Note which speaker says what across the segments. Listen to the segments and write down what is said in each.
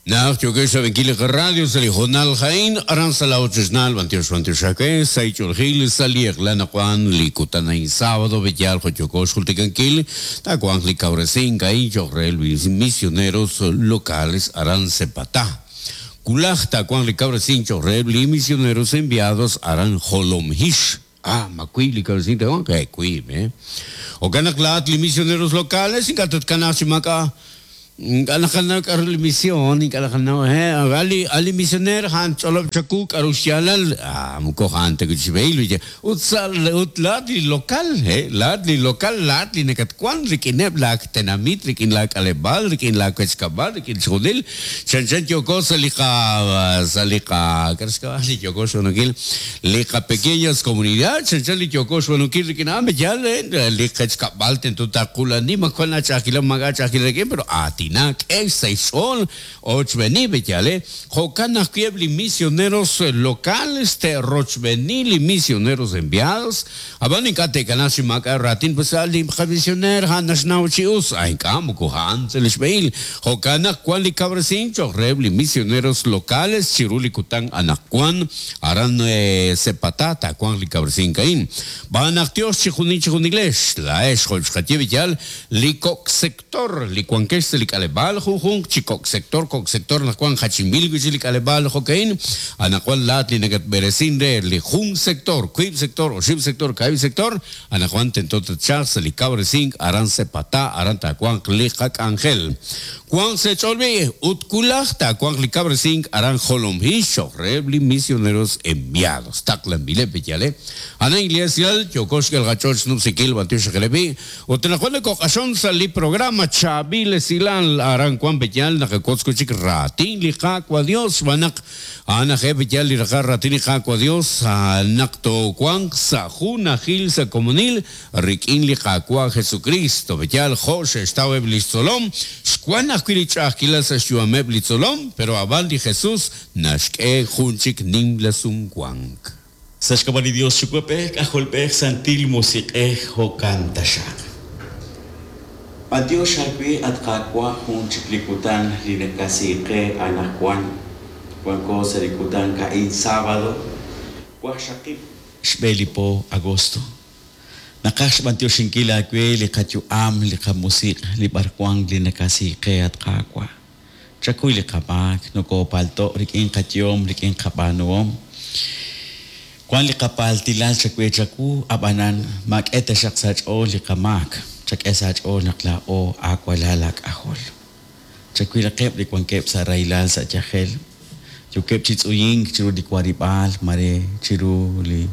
Speaker 1: Naq yookex xrab'inkil li qaradio sa' li hoonal a'in, aran sa' la ochochnaal, b'antiox b'antiox aawe, sa' ich'oolejil, sa' li eq'la naqwan li kutan a'in sábado, b'eyaal jo' yooko xjultikankil, taawanq li kawresink a'in cho'q reheb' li misioneros locales aran Sepatá. Wulaj taawanq li kawresink cho'q reheb' li misioneros enviados aran Jolomhix. Ah, ma wiib' li kawresink taawanq? He, wiib', eh. Jo'kan naq laa'at li misioneros locales ink'a' tatkanaaq chi maak'a' Ink'a' naqanaw k'a'ru li mision, ink'a' naqanaw, he, a' li, a' li misioneer a'an ch'olob' chawu k'a'ru xyaalal, ah, moko a'an ta wi' xb'ehil, wi' ut sa' ut laa'at li local, he, laa'at li local, laa'at li nakatwan rik'ineb' laa tenamit, rik'in laa k'aleb'aal, rik'in laa wech kab'al, rik'in chixjunil, chanchan yooko sa' li qa, sa' li qa, k'a'ru xk'ab'a' li yooko xb'aanunkil, li qa pequeñas comunidad, chanchan li yooko xb'aanunkil rik'in a'an, yaal, li qech kab'al tento taqula'ani, ma wan aach'a'ajkilal, maak'a' aach'a'ajkilal rik'in, pero aatinak, k'e sa' xch'ool, ochb'eeni, yaal, jo'kan ajwi' eb' li misioneros locales te'rochb'eeni li misioneros enviados, ab'an ink'a' te'kanaaq chi maak'a' raatin, pues a' li qamisioneer a'an naxnaw chi us, a ink'a' moko a'an sa' li xb'ehil, jo'kan naq wan li kawresink cho'q reheb' li misioneros locales chiru li kutan anaqwan, aran Sepatá taawanq li kawresink a'in. Xb'aan naq Yos chijunil chijunilex, laa'ex jo' xqaye b'iyal, li kok' sector li wankex sa' li k'aleb'aal junjunq chi kok' sector, kok' sector naq wank jachinb'il wi' chik li k'aleb'aal jo'ka'in, anaqwan laa'at li nakatb'eresin re li jun sector, wiib' sector, oxib' sector, kaahib' sector, anaqwan tento tatchalq sa' li kawresink aran Sepatá, aran taawanq li qak'anjel. Wanq sa' eech'ool b'i', ut wulaj taawanq li kawresink aran Jolomhix cho'q reheb' li misioneros enviados. Taqlanb'ileb' b'iyal, eh. Ana Iglesia, yooko xk'el qach'ool xnub'sinkil b'antiox reheb' b'i', ut anaqwan nokoq'axon sa' li programa Chaab'il Esilal aran wank b'iyal naqawotz wi' chik raatin li Qaawa' Dios xb'aan naq A'an aj eb' yaal li raqal raatin li Qaawa' Dios, naq toowanq sa' junajil sa' komonil rik'in li Qaawa' Jesukristo. Yaal, jo' xe'xtaw eb' lix tzolom, xwan ajwi' li ch'a'ajkilal sa' xyu'ameb' li tzolom, pero a'b'an li Jesus naxk'e jun chik nimla sumwank.
Speaker 2: Sa' xk'ab'a' li Dios Yuwa'b'ej, K'ajolb'ej, Santil Musiq'ej, jo'kan taxaq. B'antiox aawe, at Qaawa', jun chik li kutan li nakasi qe anajwan. Wanko sa' li kutan ka'in sábado, waqxaqib' xb'e li po agosto. Naqaj xb'antioxinkil aawe li qayu'am, li qamusiq', li b'arwan li nakasi qe, at Qaawa'. Chakuy li qamaak, nokoopalto' rik'in qayehom, rik'in qab'aanuhom. Wank li qapaaltilal chawe chawu, ab'anan maak'e taxaq sa' aach'ool li qamaak, chak'e sa' aach'ool naq laa'o aawalal aak'ajol. Chawilaqeb' li wankeb' sa' rahilal sa' yajel, yookeb' chi tz'uyink chiru li warib'aal mare chiru li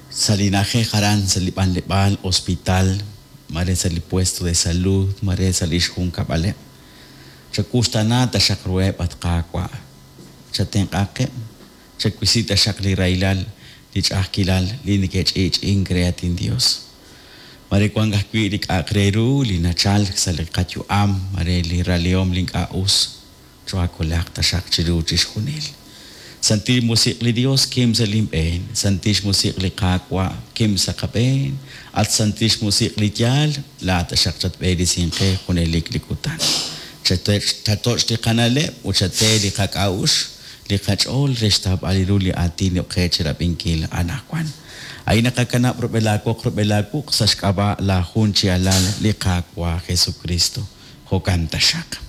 Speaker 2: sa' li na'ajej aran sa' li b'anleb'aal, hospital, mare sa' li puesto de salud, mare sa' li xjunkab'aleb'. Chawuxtaana taxaq ruheb', at Qaawa', chatenq'aqeb', chawisi taxaq li rahilal, li ch'a'ajkilal li neke'ch'i'ch'i'ink re, at inYos. Mare wank ajwi' li k'a'aq re ru li nachalk sa' li qayu'am, mare li ralihom li ink'a' us, choohaakolaq taxaq chiru chixjunil. Santil Musiq' li Dios, kim sa' lin b'een. Santil Xmusiq' li Qaawa', kim sa' qab'een. At Santil Xmusiq' li yaal, laa'at taxaq chatb'eresinq qe junelik li kutan. Chatoch' li qana'leb' ut chate li qak'a'uxl, li qach'ool re xtawb'al ru li aatin yo'qe chirab'inkil anajwan. A'in naqakanab' rub'el aawoq rub'el aawuq' sa' xk'ab'a' laa jun chi Alal, li Qaawa' Jesukristo. Jo'kan taxaq.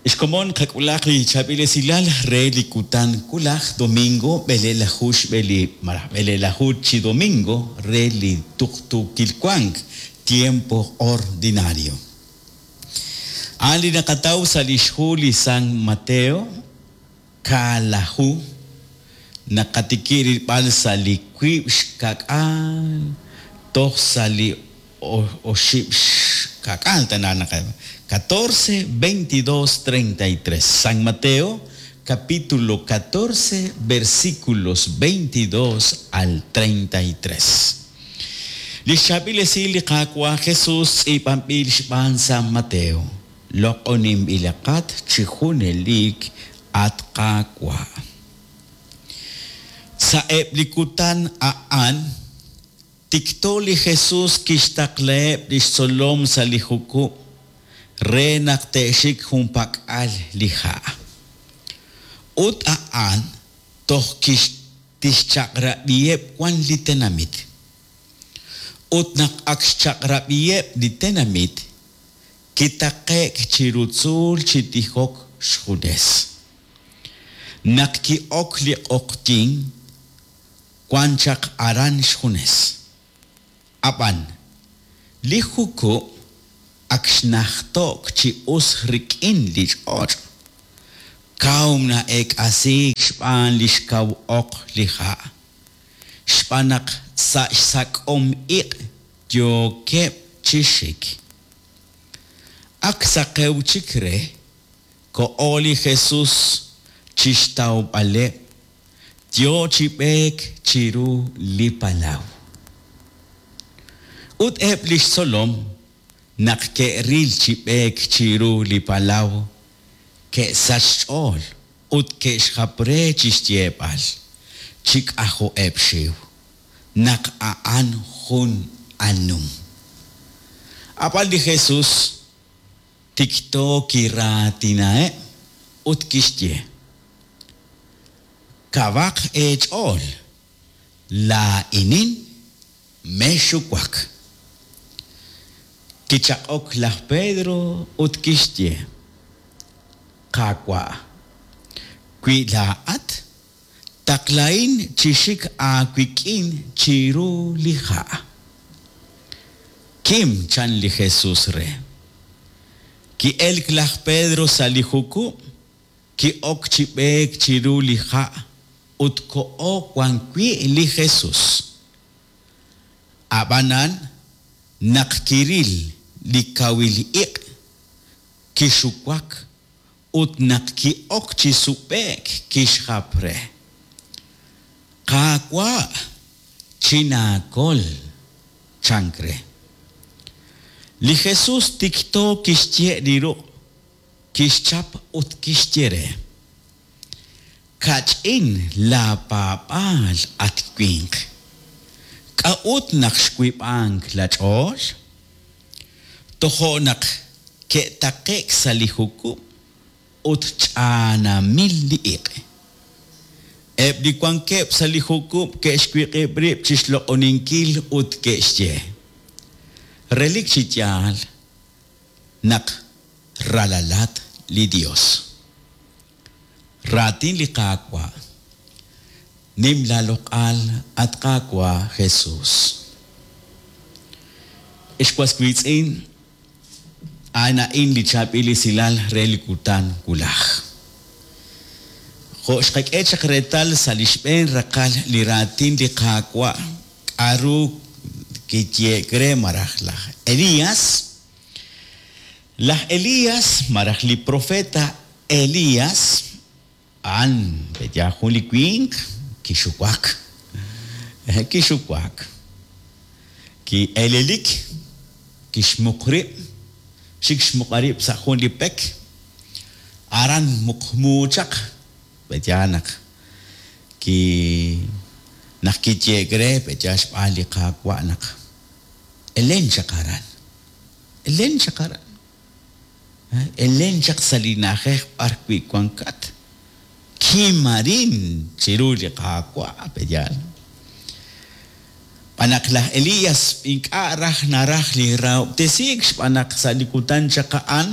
Speaker 2: Xkomon qak'ulaq li chaab'il esilal re li kutan wulaj domingo b'eleelaju xb'e li malaj b'eleelaju chi domingo re li tuqtuukil wank, tiempo ordinario. A'an li naqataw sa' lix hu li San Mateo, kaalaju, naqatikib' rilb'al sa' li wiib' xka'k'aal toj sa' li oxib' xka'k'aal tana naq catorce, veintidós, treinta y tres. San Mateo, capítulo catorce, versículos veintidós al treinta y tres. Li xchaab'il esil li Qaawa' Jesus tz'iib'anb'il xb'aan San Mateo. Loq'oninb'ilaqat chi junelik, at Qaawa'. Sa'eb' li kutan a'an, tikto li Jesus kixtaqlaheb' li xtzolom sa' li jukub' re naq te'xik junpak'al li ha'. Ut a'an toj tixchaq'rab'iheb' wan li tenamit. Ut naq ak xchaq'rab'iheb' li tenamit, kitaqe'k chiru tzuul chi tijok xjunes. Naq ki'ok li q'oqyink, wan chaq aran xjunes. Ab'an, li jukub' ak xnajto'k chi us rik'in li ch'och', kaw na'eek'asiik xb'aan li xkaw oq li ha', xb'aan naq sa' xsak'om iq' yookeb' chi xik. Ak saqew chik re, koho li Jesus chi xtawb'aleb', yo chi b'eek chiru li palaw. Ut eb' li xtzolom, naq ke'ril chi b'eek chiru li palaw, ke'sachk xch'ool ut ke'xjap re chi xyeeb'al, chi k'ajo'eb' xxiw, naq a'an jun anum. Ab'an li Jesus tikto kiraatinaheb' ut kixye, Kawaq eech'ool, laa'inin, mexxuwak. Kichaq'ok laj Pedro ut kixye, Qaawa', wi laa'at, taqlahin chi xik aawik'in chiru li ha'. Kim, chan li Jesus re. Ki'elk laj Pedro sa' li jukub', ki'ok chi b'eek chiru li ha' ut koho wan wi' li Jesus. Ab'anan, naq kiril li kawil iq', kixuwak ut naq ki'ok chi sub'e'k kixjap re, Qaawa', chinaakol, chank re. Li Jesus tikto kixye' li ruq', kixchap ut kixye re, Kach'in laapaab'aal, at winq. K'a'ut naq xwiib'ank laach'ool? Tojo' naq ke'taqe'k sa' li jukub' ut ch'aanamil li iq'. Eb' li wankeb' sa' li jukub' ke'xwiq'ib' rib' chi xloq'oninkil ut ke'xye, Relik chi yaal naq ralalat li Yos. Raatin li Qaawa'. Nim laaloq'al, at Qaawa' Jesus. Ex was wiitz'in, a'an a'in li chaab'il esilal re li kutan wulaj. Jo' xqak'e chaq reetal sa' li xb'een raqal li raatin li Qaawa' k'a'ru kiyehe'k re malaj laj Elias, Laj Elias malaj li profeta Elias a'an pe'yaal jun li winq kixuwak. Kixuwak. Ki'elelik, kixmuq rib', xik xmuq'a rib' sa' jun li pek. Aran muqmu chaq, pe'yaal naq ki naq kiye'k re pe'yaal xb'aan li Qaawa' naq elen chaq aran. Elen chaq aran. Elen chaq sa' li na'ajej b'arwi' wankat. Kim arin chiru li Qaawa', pe'yaal? Xb'aan naq laj Elías ink'a' raj naraj li rahob'tesiik xb'aan naq sa' li kutan chaq a'an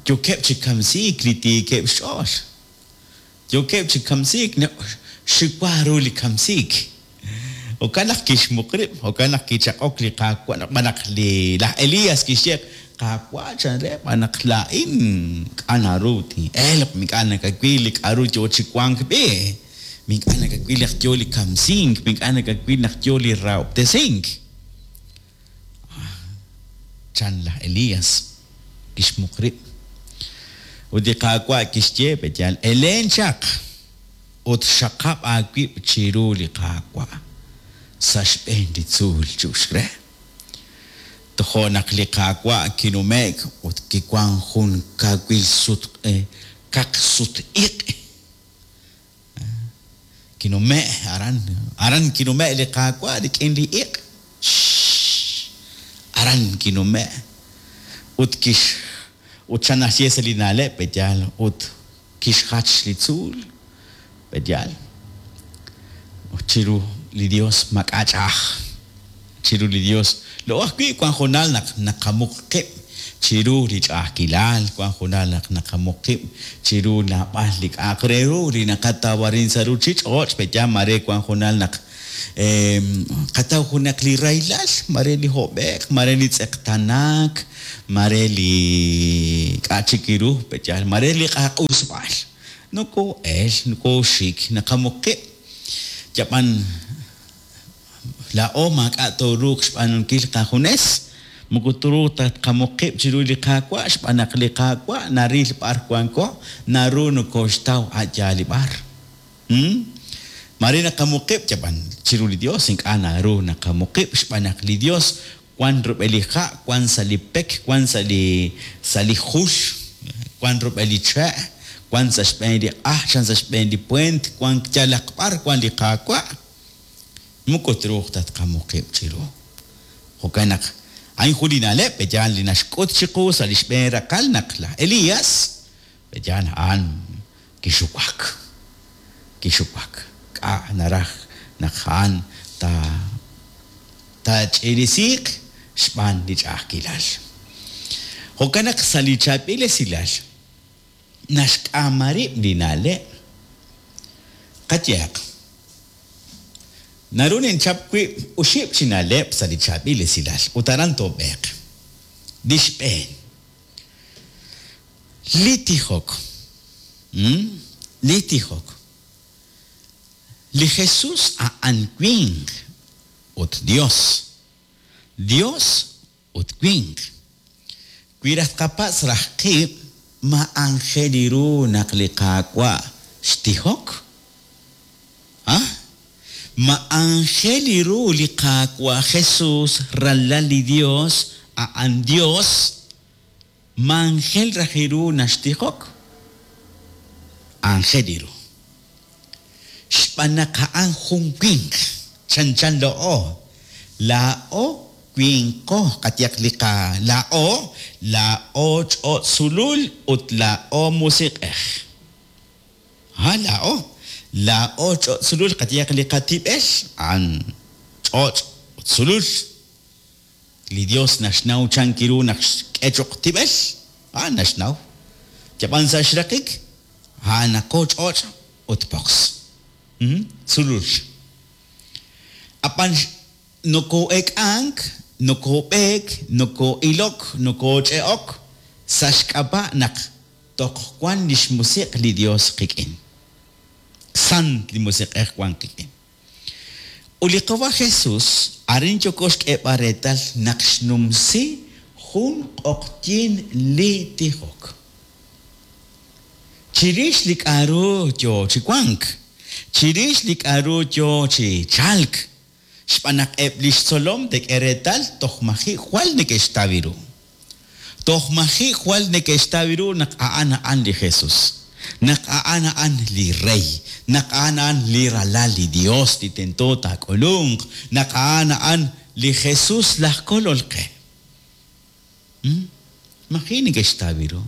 Speaker 2: yookeb' chi kamsiik li tiikeb' xch'ool. Yookeb' chi kamsiik, xiwa ru li kamsiik. Jo'kan naq kixmuq rib', jo'kan naq kichaq'ok li Qaawa', xb'aan naq li laj Elías kixye, Qaawa', chan re, xb'aan naq laa'in ink'a' naru tin'elq, ink'a' nakawil li k'a'ru yoo chi wank b'i', ink'a' nakawil naq yoo li kamsink, ink'a' nakawil naq yoo li rahob'tesink. Chan laj Elías, kixmuq rib'. Ut li Qaawa' kixye, Pe'yaal, elen chaq ut xaqab' aawib' chiru li Qaawa' sa' xb'een li tzuul chu'uxk re. Tojo' naq li Qaawa' kinume'k ut kiwank jun kawil kaq-sut-iq'. Kinume' aran, aran kinume' li Qaawa' rik'in li iq'. Aran kinume' ut kix ut chan naxye sa' li na'leb' pe'yaal ut kixjach li tzuul pe'yaal ut chiru li Dios maak'a' ch'a'aj chiru li Dios laa'o ajwi' wan hoonal naq naqamuq qib' chiru li ch'a'ajkilal wan hoonal naq naqamuq qib' chiru naab'al li k'a'aq re ru li naqataw arin sa' ruchich'och' pe'yaal maare wan hoonal naq qataw junaq li rahilal maare li hob'e'k maare li tz'eqtanaak maare li k'a' chik ru pe'yaal maare li q'aq'usb'al nokoo'el nokooxik naqamuq qib' yab'an laa'o maak'a' tooruuq xb'aanunkil qajunes moko truuq ta tqamuq qib' chiru li Qaawa' xb'aan naq li Qaawa' naril b'ar wanko naru nokooxtaw a' yaal li b'ar. Maare naqamuq qib' yab'an chiru li Dios ink'a' naru naqamuq qib' xb'aan naq li Dios wan rub'el li ha' wan sa' li pek wan sa' li sa' li jul wan rub'el li che' wan sa' xb'een li q'aj chan sa' xb'een li puent wan yalaq b'ar wan li Qaawa' moko truuq ta tqamuq qib' chiru. Jo'kan naq a'in jun li na'leb' pe'yaal li naxk'ut chiqu sa' li xb'een raqal naq laj Elías pe'yaal a'an kixuwak kixuwak k'a' naraj naq a'an ta taach'irisiiq xb'aan li ch'a'ajkilal. Jo'kan naq sa' li chaab'il esilal naxk'aama rib' li na'leb'. Qayehaq, naru ninchap wib' oxib' chi na'leb' sa' li chaab'il esilal ut aran toob'eeq. Li xb'een, li tijok. Li tijok. Li Jesús a'an winq ut Dios. Dios ut winq. Wi raj tqapatz' raj qib' ma aajel ru naq li Qaawa' xtijok? A Ma aajel ru li Qaawa' Jesús ralal li Dios a'an Dios? Ma aajel raj ru naxtijok? Aajel ru. Xb'aan naq a'an jun winq chanchan laa'o. Laa'o winqo qayehaq li qa laa'o laa'o ch'och' sulul ut laa'o musiq'ej. Ha laa'o laa'o ch'och' sulul qayehaq li qatib'el a'an ch'och' ut sulul. Li Dios naxnaw chan ru naq xk'e cho'q tib'el, a'an naxnaw. Yab'an sa' xraqik, a'anaqo ch'och' ut poqs. Sulul. Ab'an nokoo'ek'ank, nokoob'eek, nokoo'ilok, nokooch'e'ok sa' xk'ab'a' naq toj wan li xmusiq' li Dios qik'in. Sant li musiq'ej wan qik'in. Ut li Qawa' Jesús arin yooko xk'eeb'al reetal naq xnumsi jun q'oqyink li tijok. Chirix li k'a'ru yoo chi wank, chirix li k'a'ru yoo chi chalk, xb'aan naq eb' lix tzolom te'k'e reetal toj maji' jwal neke'xtaw ru. Toj maji' jwal neke'xtaw ru naq a'an a'an li Jesús, naq a'an a'an li Rey, naq a'an a'an li Ralal li Dios li tento taak'ulunq, naq a'an a'an li Jesús laj Kolol qe. Maji' neke'xtaw ru.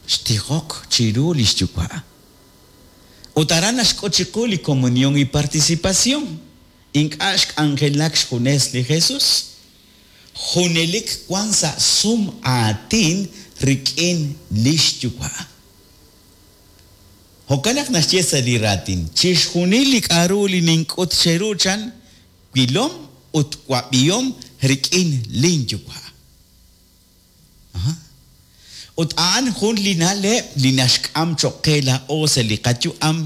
Speaker 2: Xtijok chiru lix Yuwa'. Ut aran naxk'ut chiqu li comunión y participación. Ink'a' xk'anjelak xjunes li Jesús. Junelik wan sa' sum aatin rik'in lix Yuwa'. Jo'kan naq naxye sa' li raatin, chixjunil li k'a'ru li nink'ut cheru chan, wilom ut wab'ihom rik'in lin Yuwa'. Ut a'an jun li na'leb' li naxk'am cho'q qe laa'o sa' li qayu'am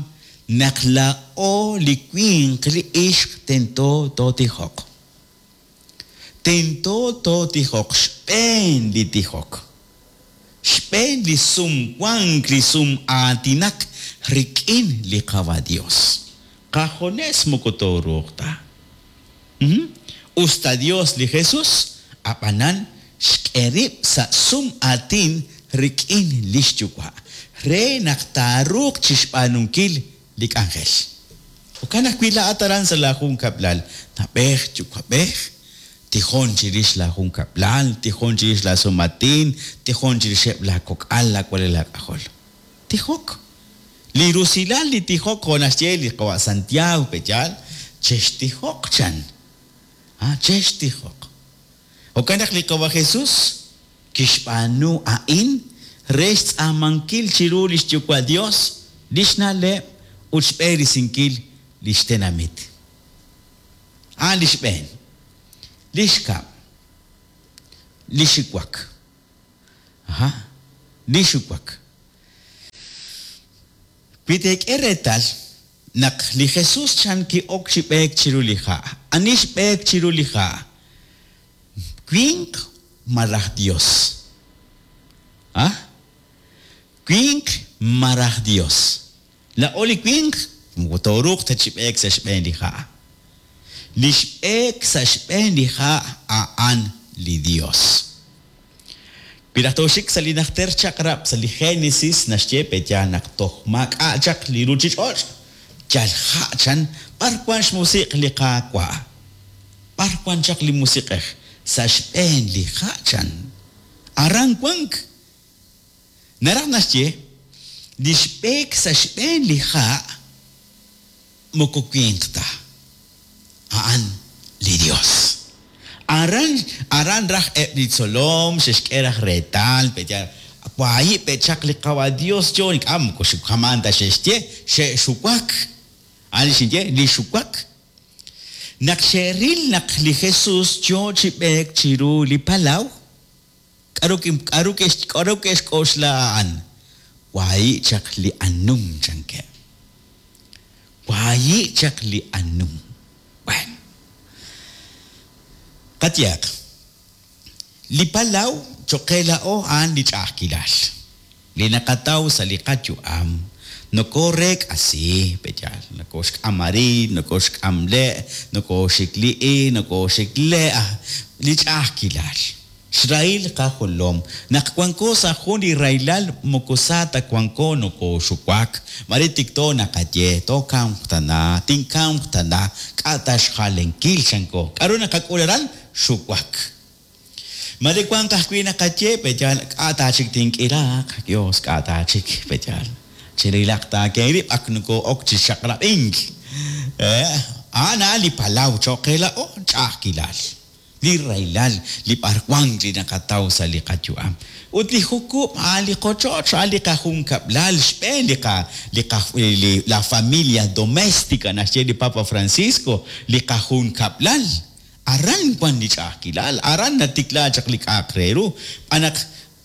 Speaker 2: naq laa'o li winq li ixq tento tootijoq. Tento tootijoq xb'een li tijok. Xb'een li sumwank li sum'aatinak rik'in li Qawa' Dios. Qajunes moko tooruuq ta. Us ta Dios li Jesús, ab'anan xk'e rib' sa' sum'aatin rik'in lix Yuwa' re naq taaruuq chixb'aanunkil li k'anjel. Jo'kan ajwi' laa'at aran sa' laa junkab'lal, na'b'ej yuwa'b'ej, Tijon chirix laajunkab'lal, tijon chirix laasumatin, tijon chirixeb' laakok'al, laawalal laak'ajol. Tijok. Li rusilal li tijok jo' naxye li qawa' Santiago pe'yaal, chextijoq chan. Ah, chextijoq. Jo'kan naq li qawa' Jesús kixb'aanu a'in re xtz'aamankil chiru li xyuwa' Dios li xna'leb' ut xb'eresinkil li xtenamit. A'an li xb'een. Li xkab'. Li xiwak. Aha. Li xuwak. Wi teek'e reetal naq li Jesús chan ki'ok chi b'eek chiru li ha'. Ani xb'eek chiru li ha'? Winq malaj Dios? Ah? Winq malaj Dios? Laa'o li winq moko tooruuq ta chi b'eek sa' xb'een li ha'. Li xb'eek sa' xb'een li ha' a'an li Dios. Wi raj tooxik sa' li Najter Chaq'rab' sa' li Génesis naxye pe'yaal naq toj maak'a' chaq li ruuchich'och', yal ha' chan b'ar wank xmusiq' li Qaawa'. B'ar wank chaq li Musiq'ej? Sa' xb'een li ha' chan. Aran wank. Naraj naxye, li xb'eek sa' xb'een li ha' moko winq ta, a'an li Yos. Aran, aran raj eb' li tzolom xe'xk'e raj reetal, pe'yaal, wahi' pe' chaq li Qawa' Yos yo, ink'a' moko xamaan ta xe'xye, xe'xuwak. A'an li xinye, li xuwak. Naq xe'ril naq li Jesús yo chi b'eek chiru li palaw, K'aru k'aru k'aru ke'xk'oxla a'an? Wahi' chaq li anum, chankeb'. Wahi' chaq li anum. Bueno. Qayehaq, li palaw cho'q qe laa'o a'an li ch'a'ajkilal. Li naqataw sa' li qayu'am nokooreek'asi, pe'yaal? Nokooxk'am arin, nokooxk'am le', nokooxik li'i, nokooxik le', li ch'a'ajkilal, xrahil qajolom. Naq wanko sa' jun li rahilal moko sa ta wanko nokooxuwak, mare tikto naqaye, tookamq tana, tinkamq tana, k'a' ta xjalenkil chanko. K'aru naqak'ul aran? Xuwak. Mare wanq ajwi' naqaye, pe'yaal, k'a' ta chik tink'iraaq, Yos, k'a' ta chik, pe'yaal, chirilaq ta keerib' ak nokoo'ok chi xaqrab'ink. A'an a'an li palaw cho'q qe laa'o, ch'a'ajkilal, li rahilal, li b'arwank li naqataw sa' li qayu'am. Ut li jukub' a'an li qochoch, a'an li qajunkab'lal, xb'een li qa, li qa, li la familia domestica naxye li Papa Francisco, li qajunkab'lal. Aran wan li ch'a'ajkilal, aran natikla chaq li k'a'aq re ru, xb'aan naq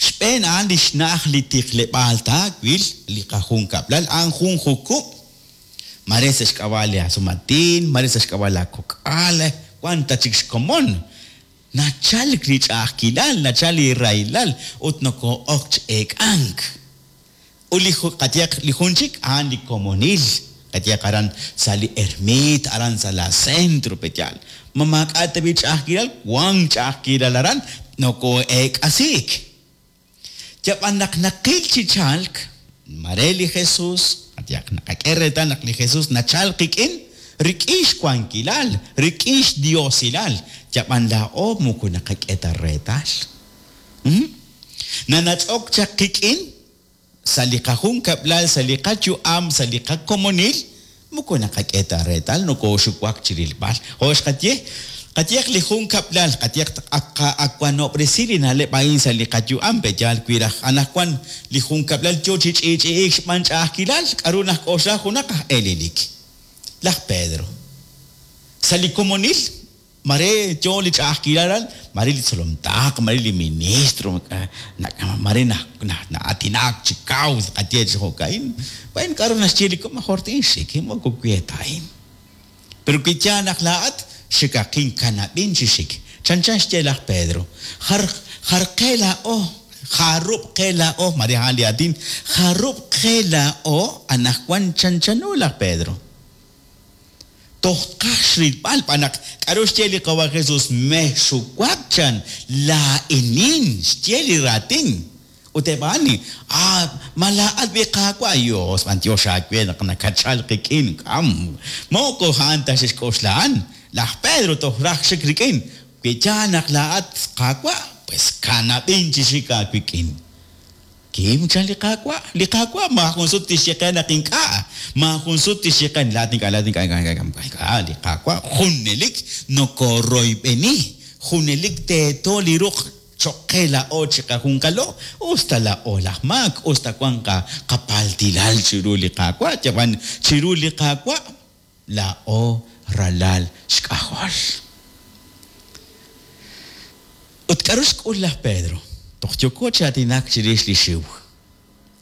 Speaker 2: xb'een a'an li xna'aj li tijleb'aal taawil, li qajunkab'lal a'an jun jukub', mare sa' xk'ab'a' li asumatin, mare sa' xk'ab'a' laakok'al, wan ta chik xkomon. Nachalk li ch'a'ajkilal, nachalk li rahilal ut nokoo'ok chi eek'ank. Ut li qayehaq li jun chik a'an li komonil, qayehaq aran sa' li ermiit, aran sa' la centro, pe'yaal? Ma maak'a' tab'i' ch'a'ajkilal? Wank ch'a'ajkilal aran, nokoo'eek'asiik. Yab'an naq naqil chi chalk, mare li Jesús, qayehaq naqak'e reetal naq li Jesús nachalk qik'in, rik'in xwankilal, rik'in xdiosilal, yab'an laa'o moko naqak'e ta reetal. Nanach'ok chaq qik'in sa' li qajunkab'lal, sa' li qayu'am, sa' li qakomonil, moko naqak'e ta reetal, nokooxuwak chi rilb'al. Jo' xqaye, qayehaq li junkab'lal, qayehaq ak qawanob'resi li na'leb' a'in sa' li qayu'am, pe'yaal wi raj anaqwan li junkab'lal yo chi ch'i'ch'i'iik xb'aan ch'a'ajkilal, k'aru najk'oxla junaq aj elelik? Laj Pedro. Sa' li komonil, Mare yo li ch'a'ajkilal aran, mare li tzolom taql, mare li ministro, mare na'aatinak chi kaw, tqaye chi jo'ka'in. Bueno, k'aru naxye li komon, mejor tinxik, moko we ta a'in. Pero wi yaal naq laa'at, xikaqin, kanab'in chi xik. Chanchan xye laj Pedro, jar, jar qe laa'o, jarub' qe laa'o, mare a'an li aatin, jarub' qe laa'o anaqwan chanchano laj Pedro. Toj tqaj xrilb'al b'an naq k'aru xye li Qawa' Jesus, Mexxuwak chan, laa'inin, xye li raatin. Ut eb' a'an, Ah, ma laa'at b'i Qaawa'? Yos, b'anyox aawe naq nakatchalk qik'in. K'am, moko a'an ta xe'xk'oxla a'an. Laj Pedro toj raj xik rik'in. Wi yaal naq laa'at Qaawa', pues kanab'in chi xik aawik'in. Kim, chan li Qaawa'. Li Qaawa' maajun sut tixye qe naq ink'a'. Maajun sut tixye qe, laa'at ink'a', laa'at ink'a', ink'a', ink'a', ink'a'. Li Qaawa' junelik nokoroyb'eni, junelik teeto li ruq' choq' qe laa'o chiqajunqalo, us ta laa'o laj maak, us ta wan qapaltilal chiru li Qaawa', yab'an chiru li Qaawa' laa'o ralal xk'ajol. Ut k'aru xk'ul laj Pedro? Toj yooko chi aatinak chirix li xiw.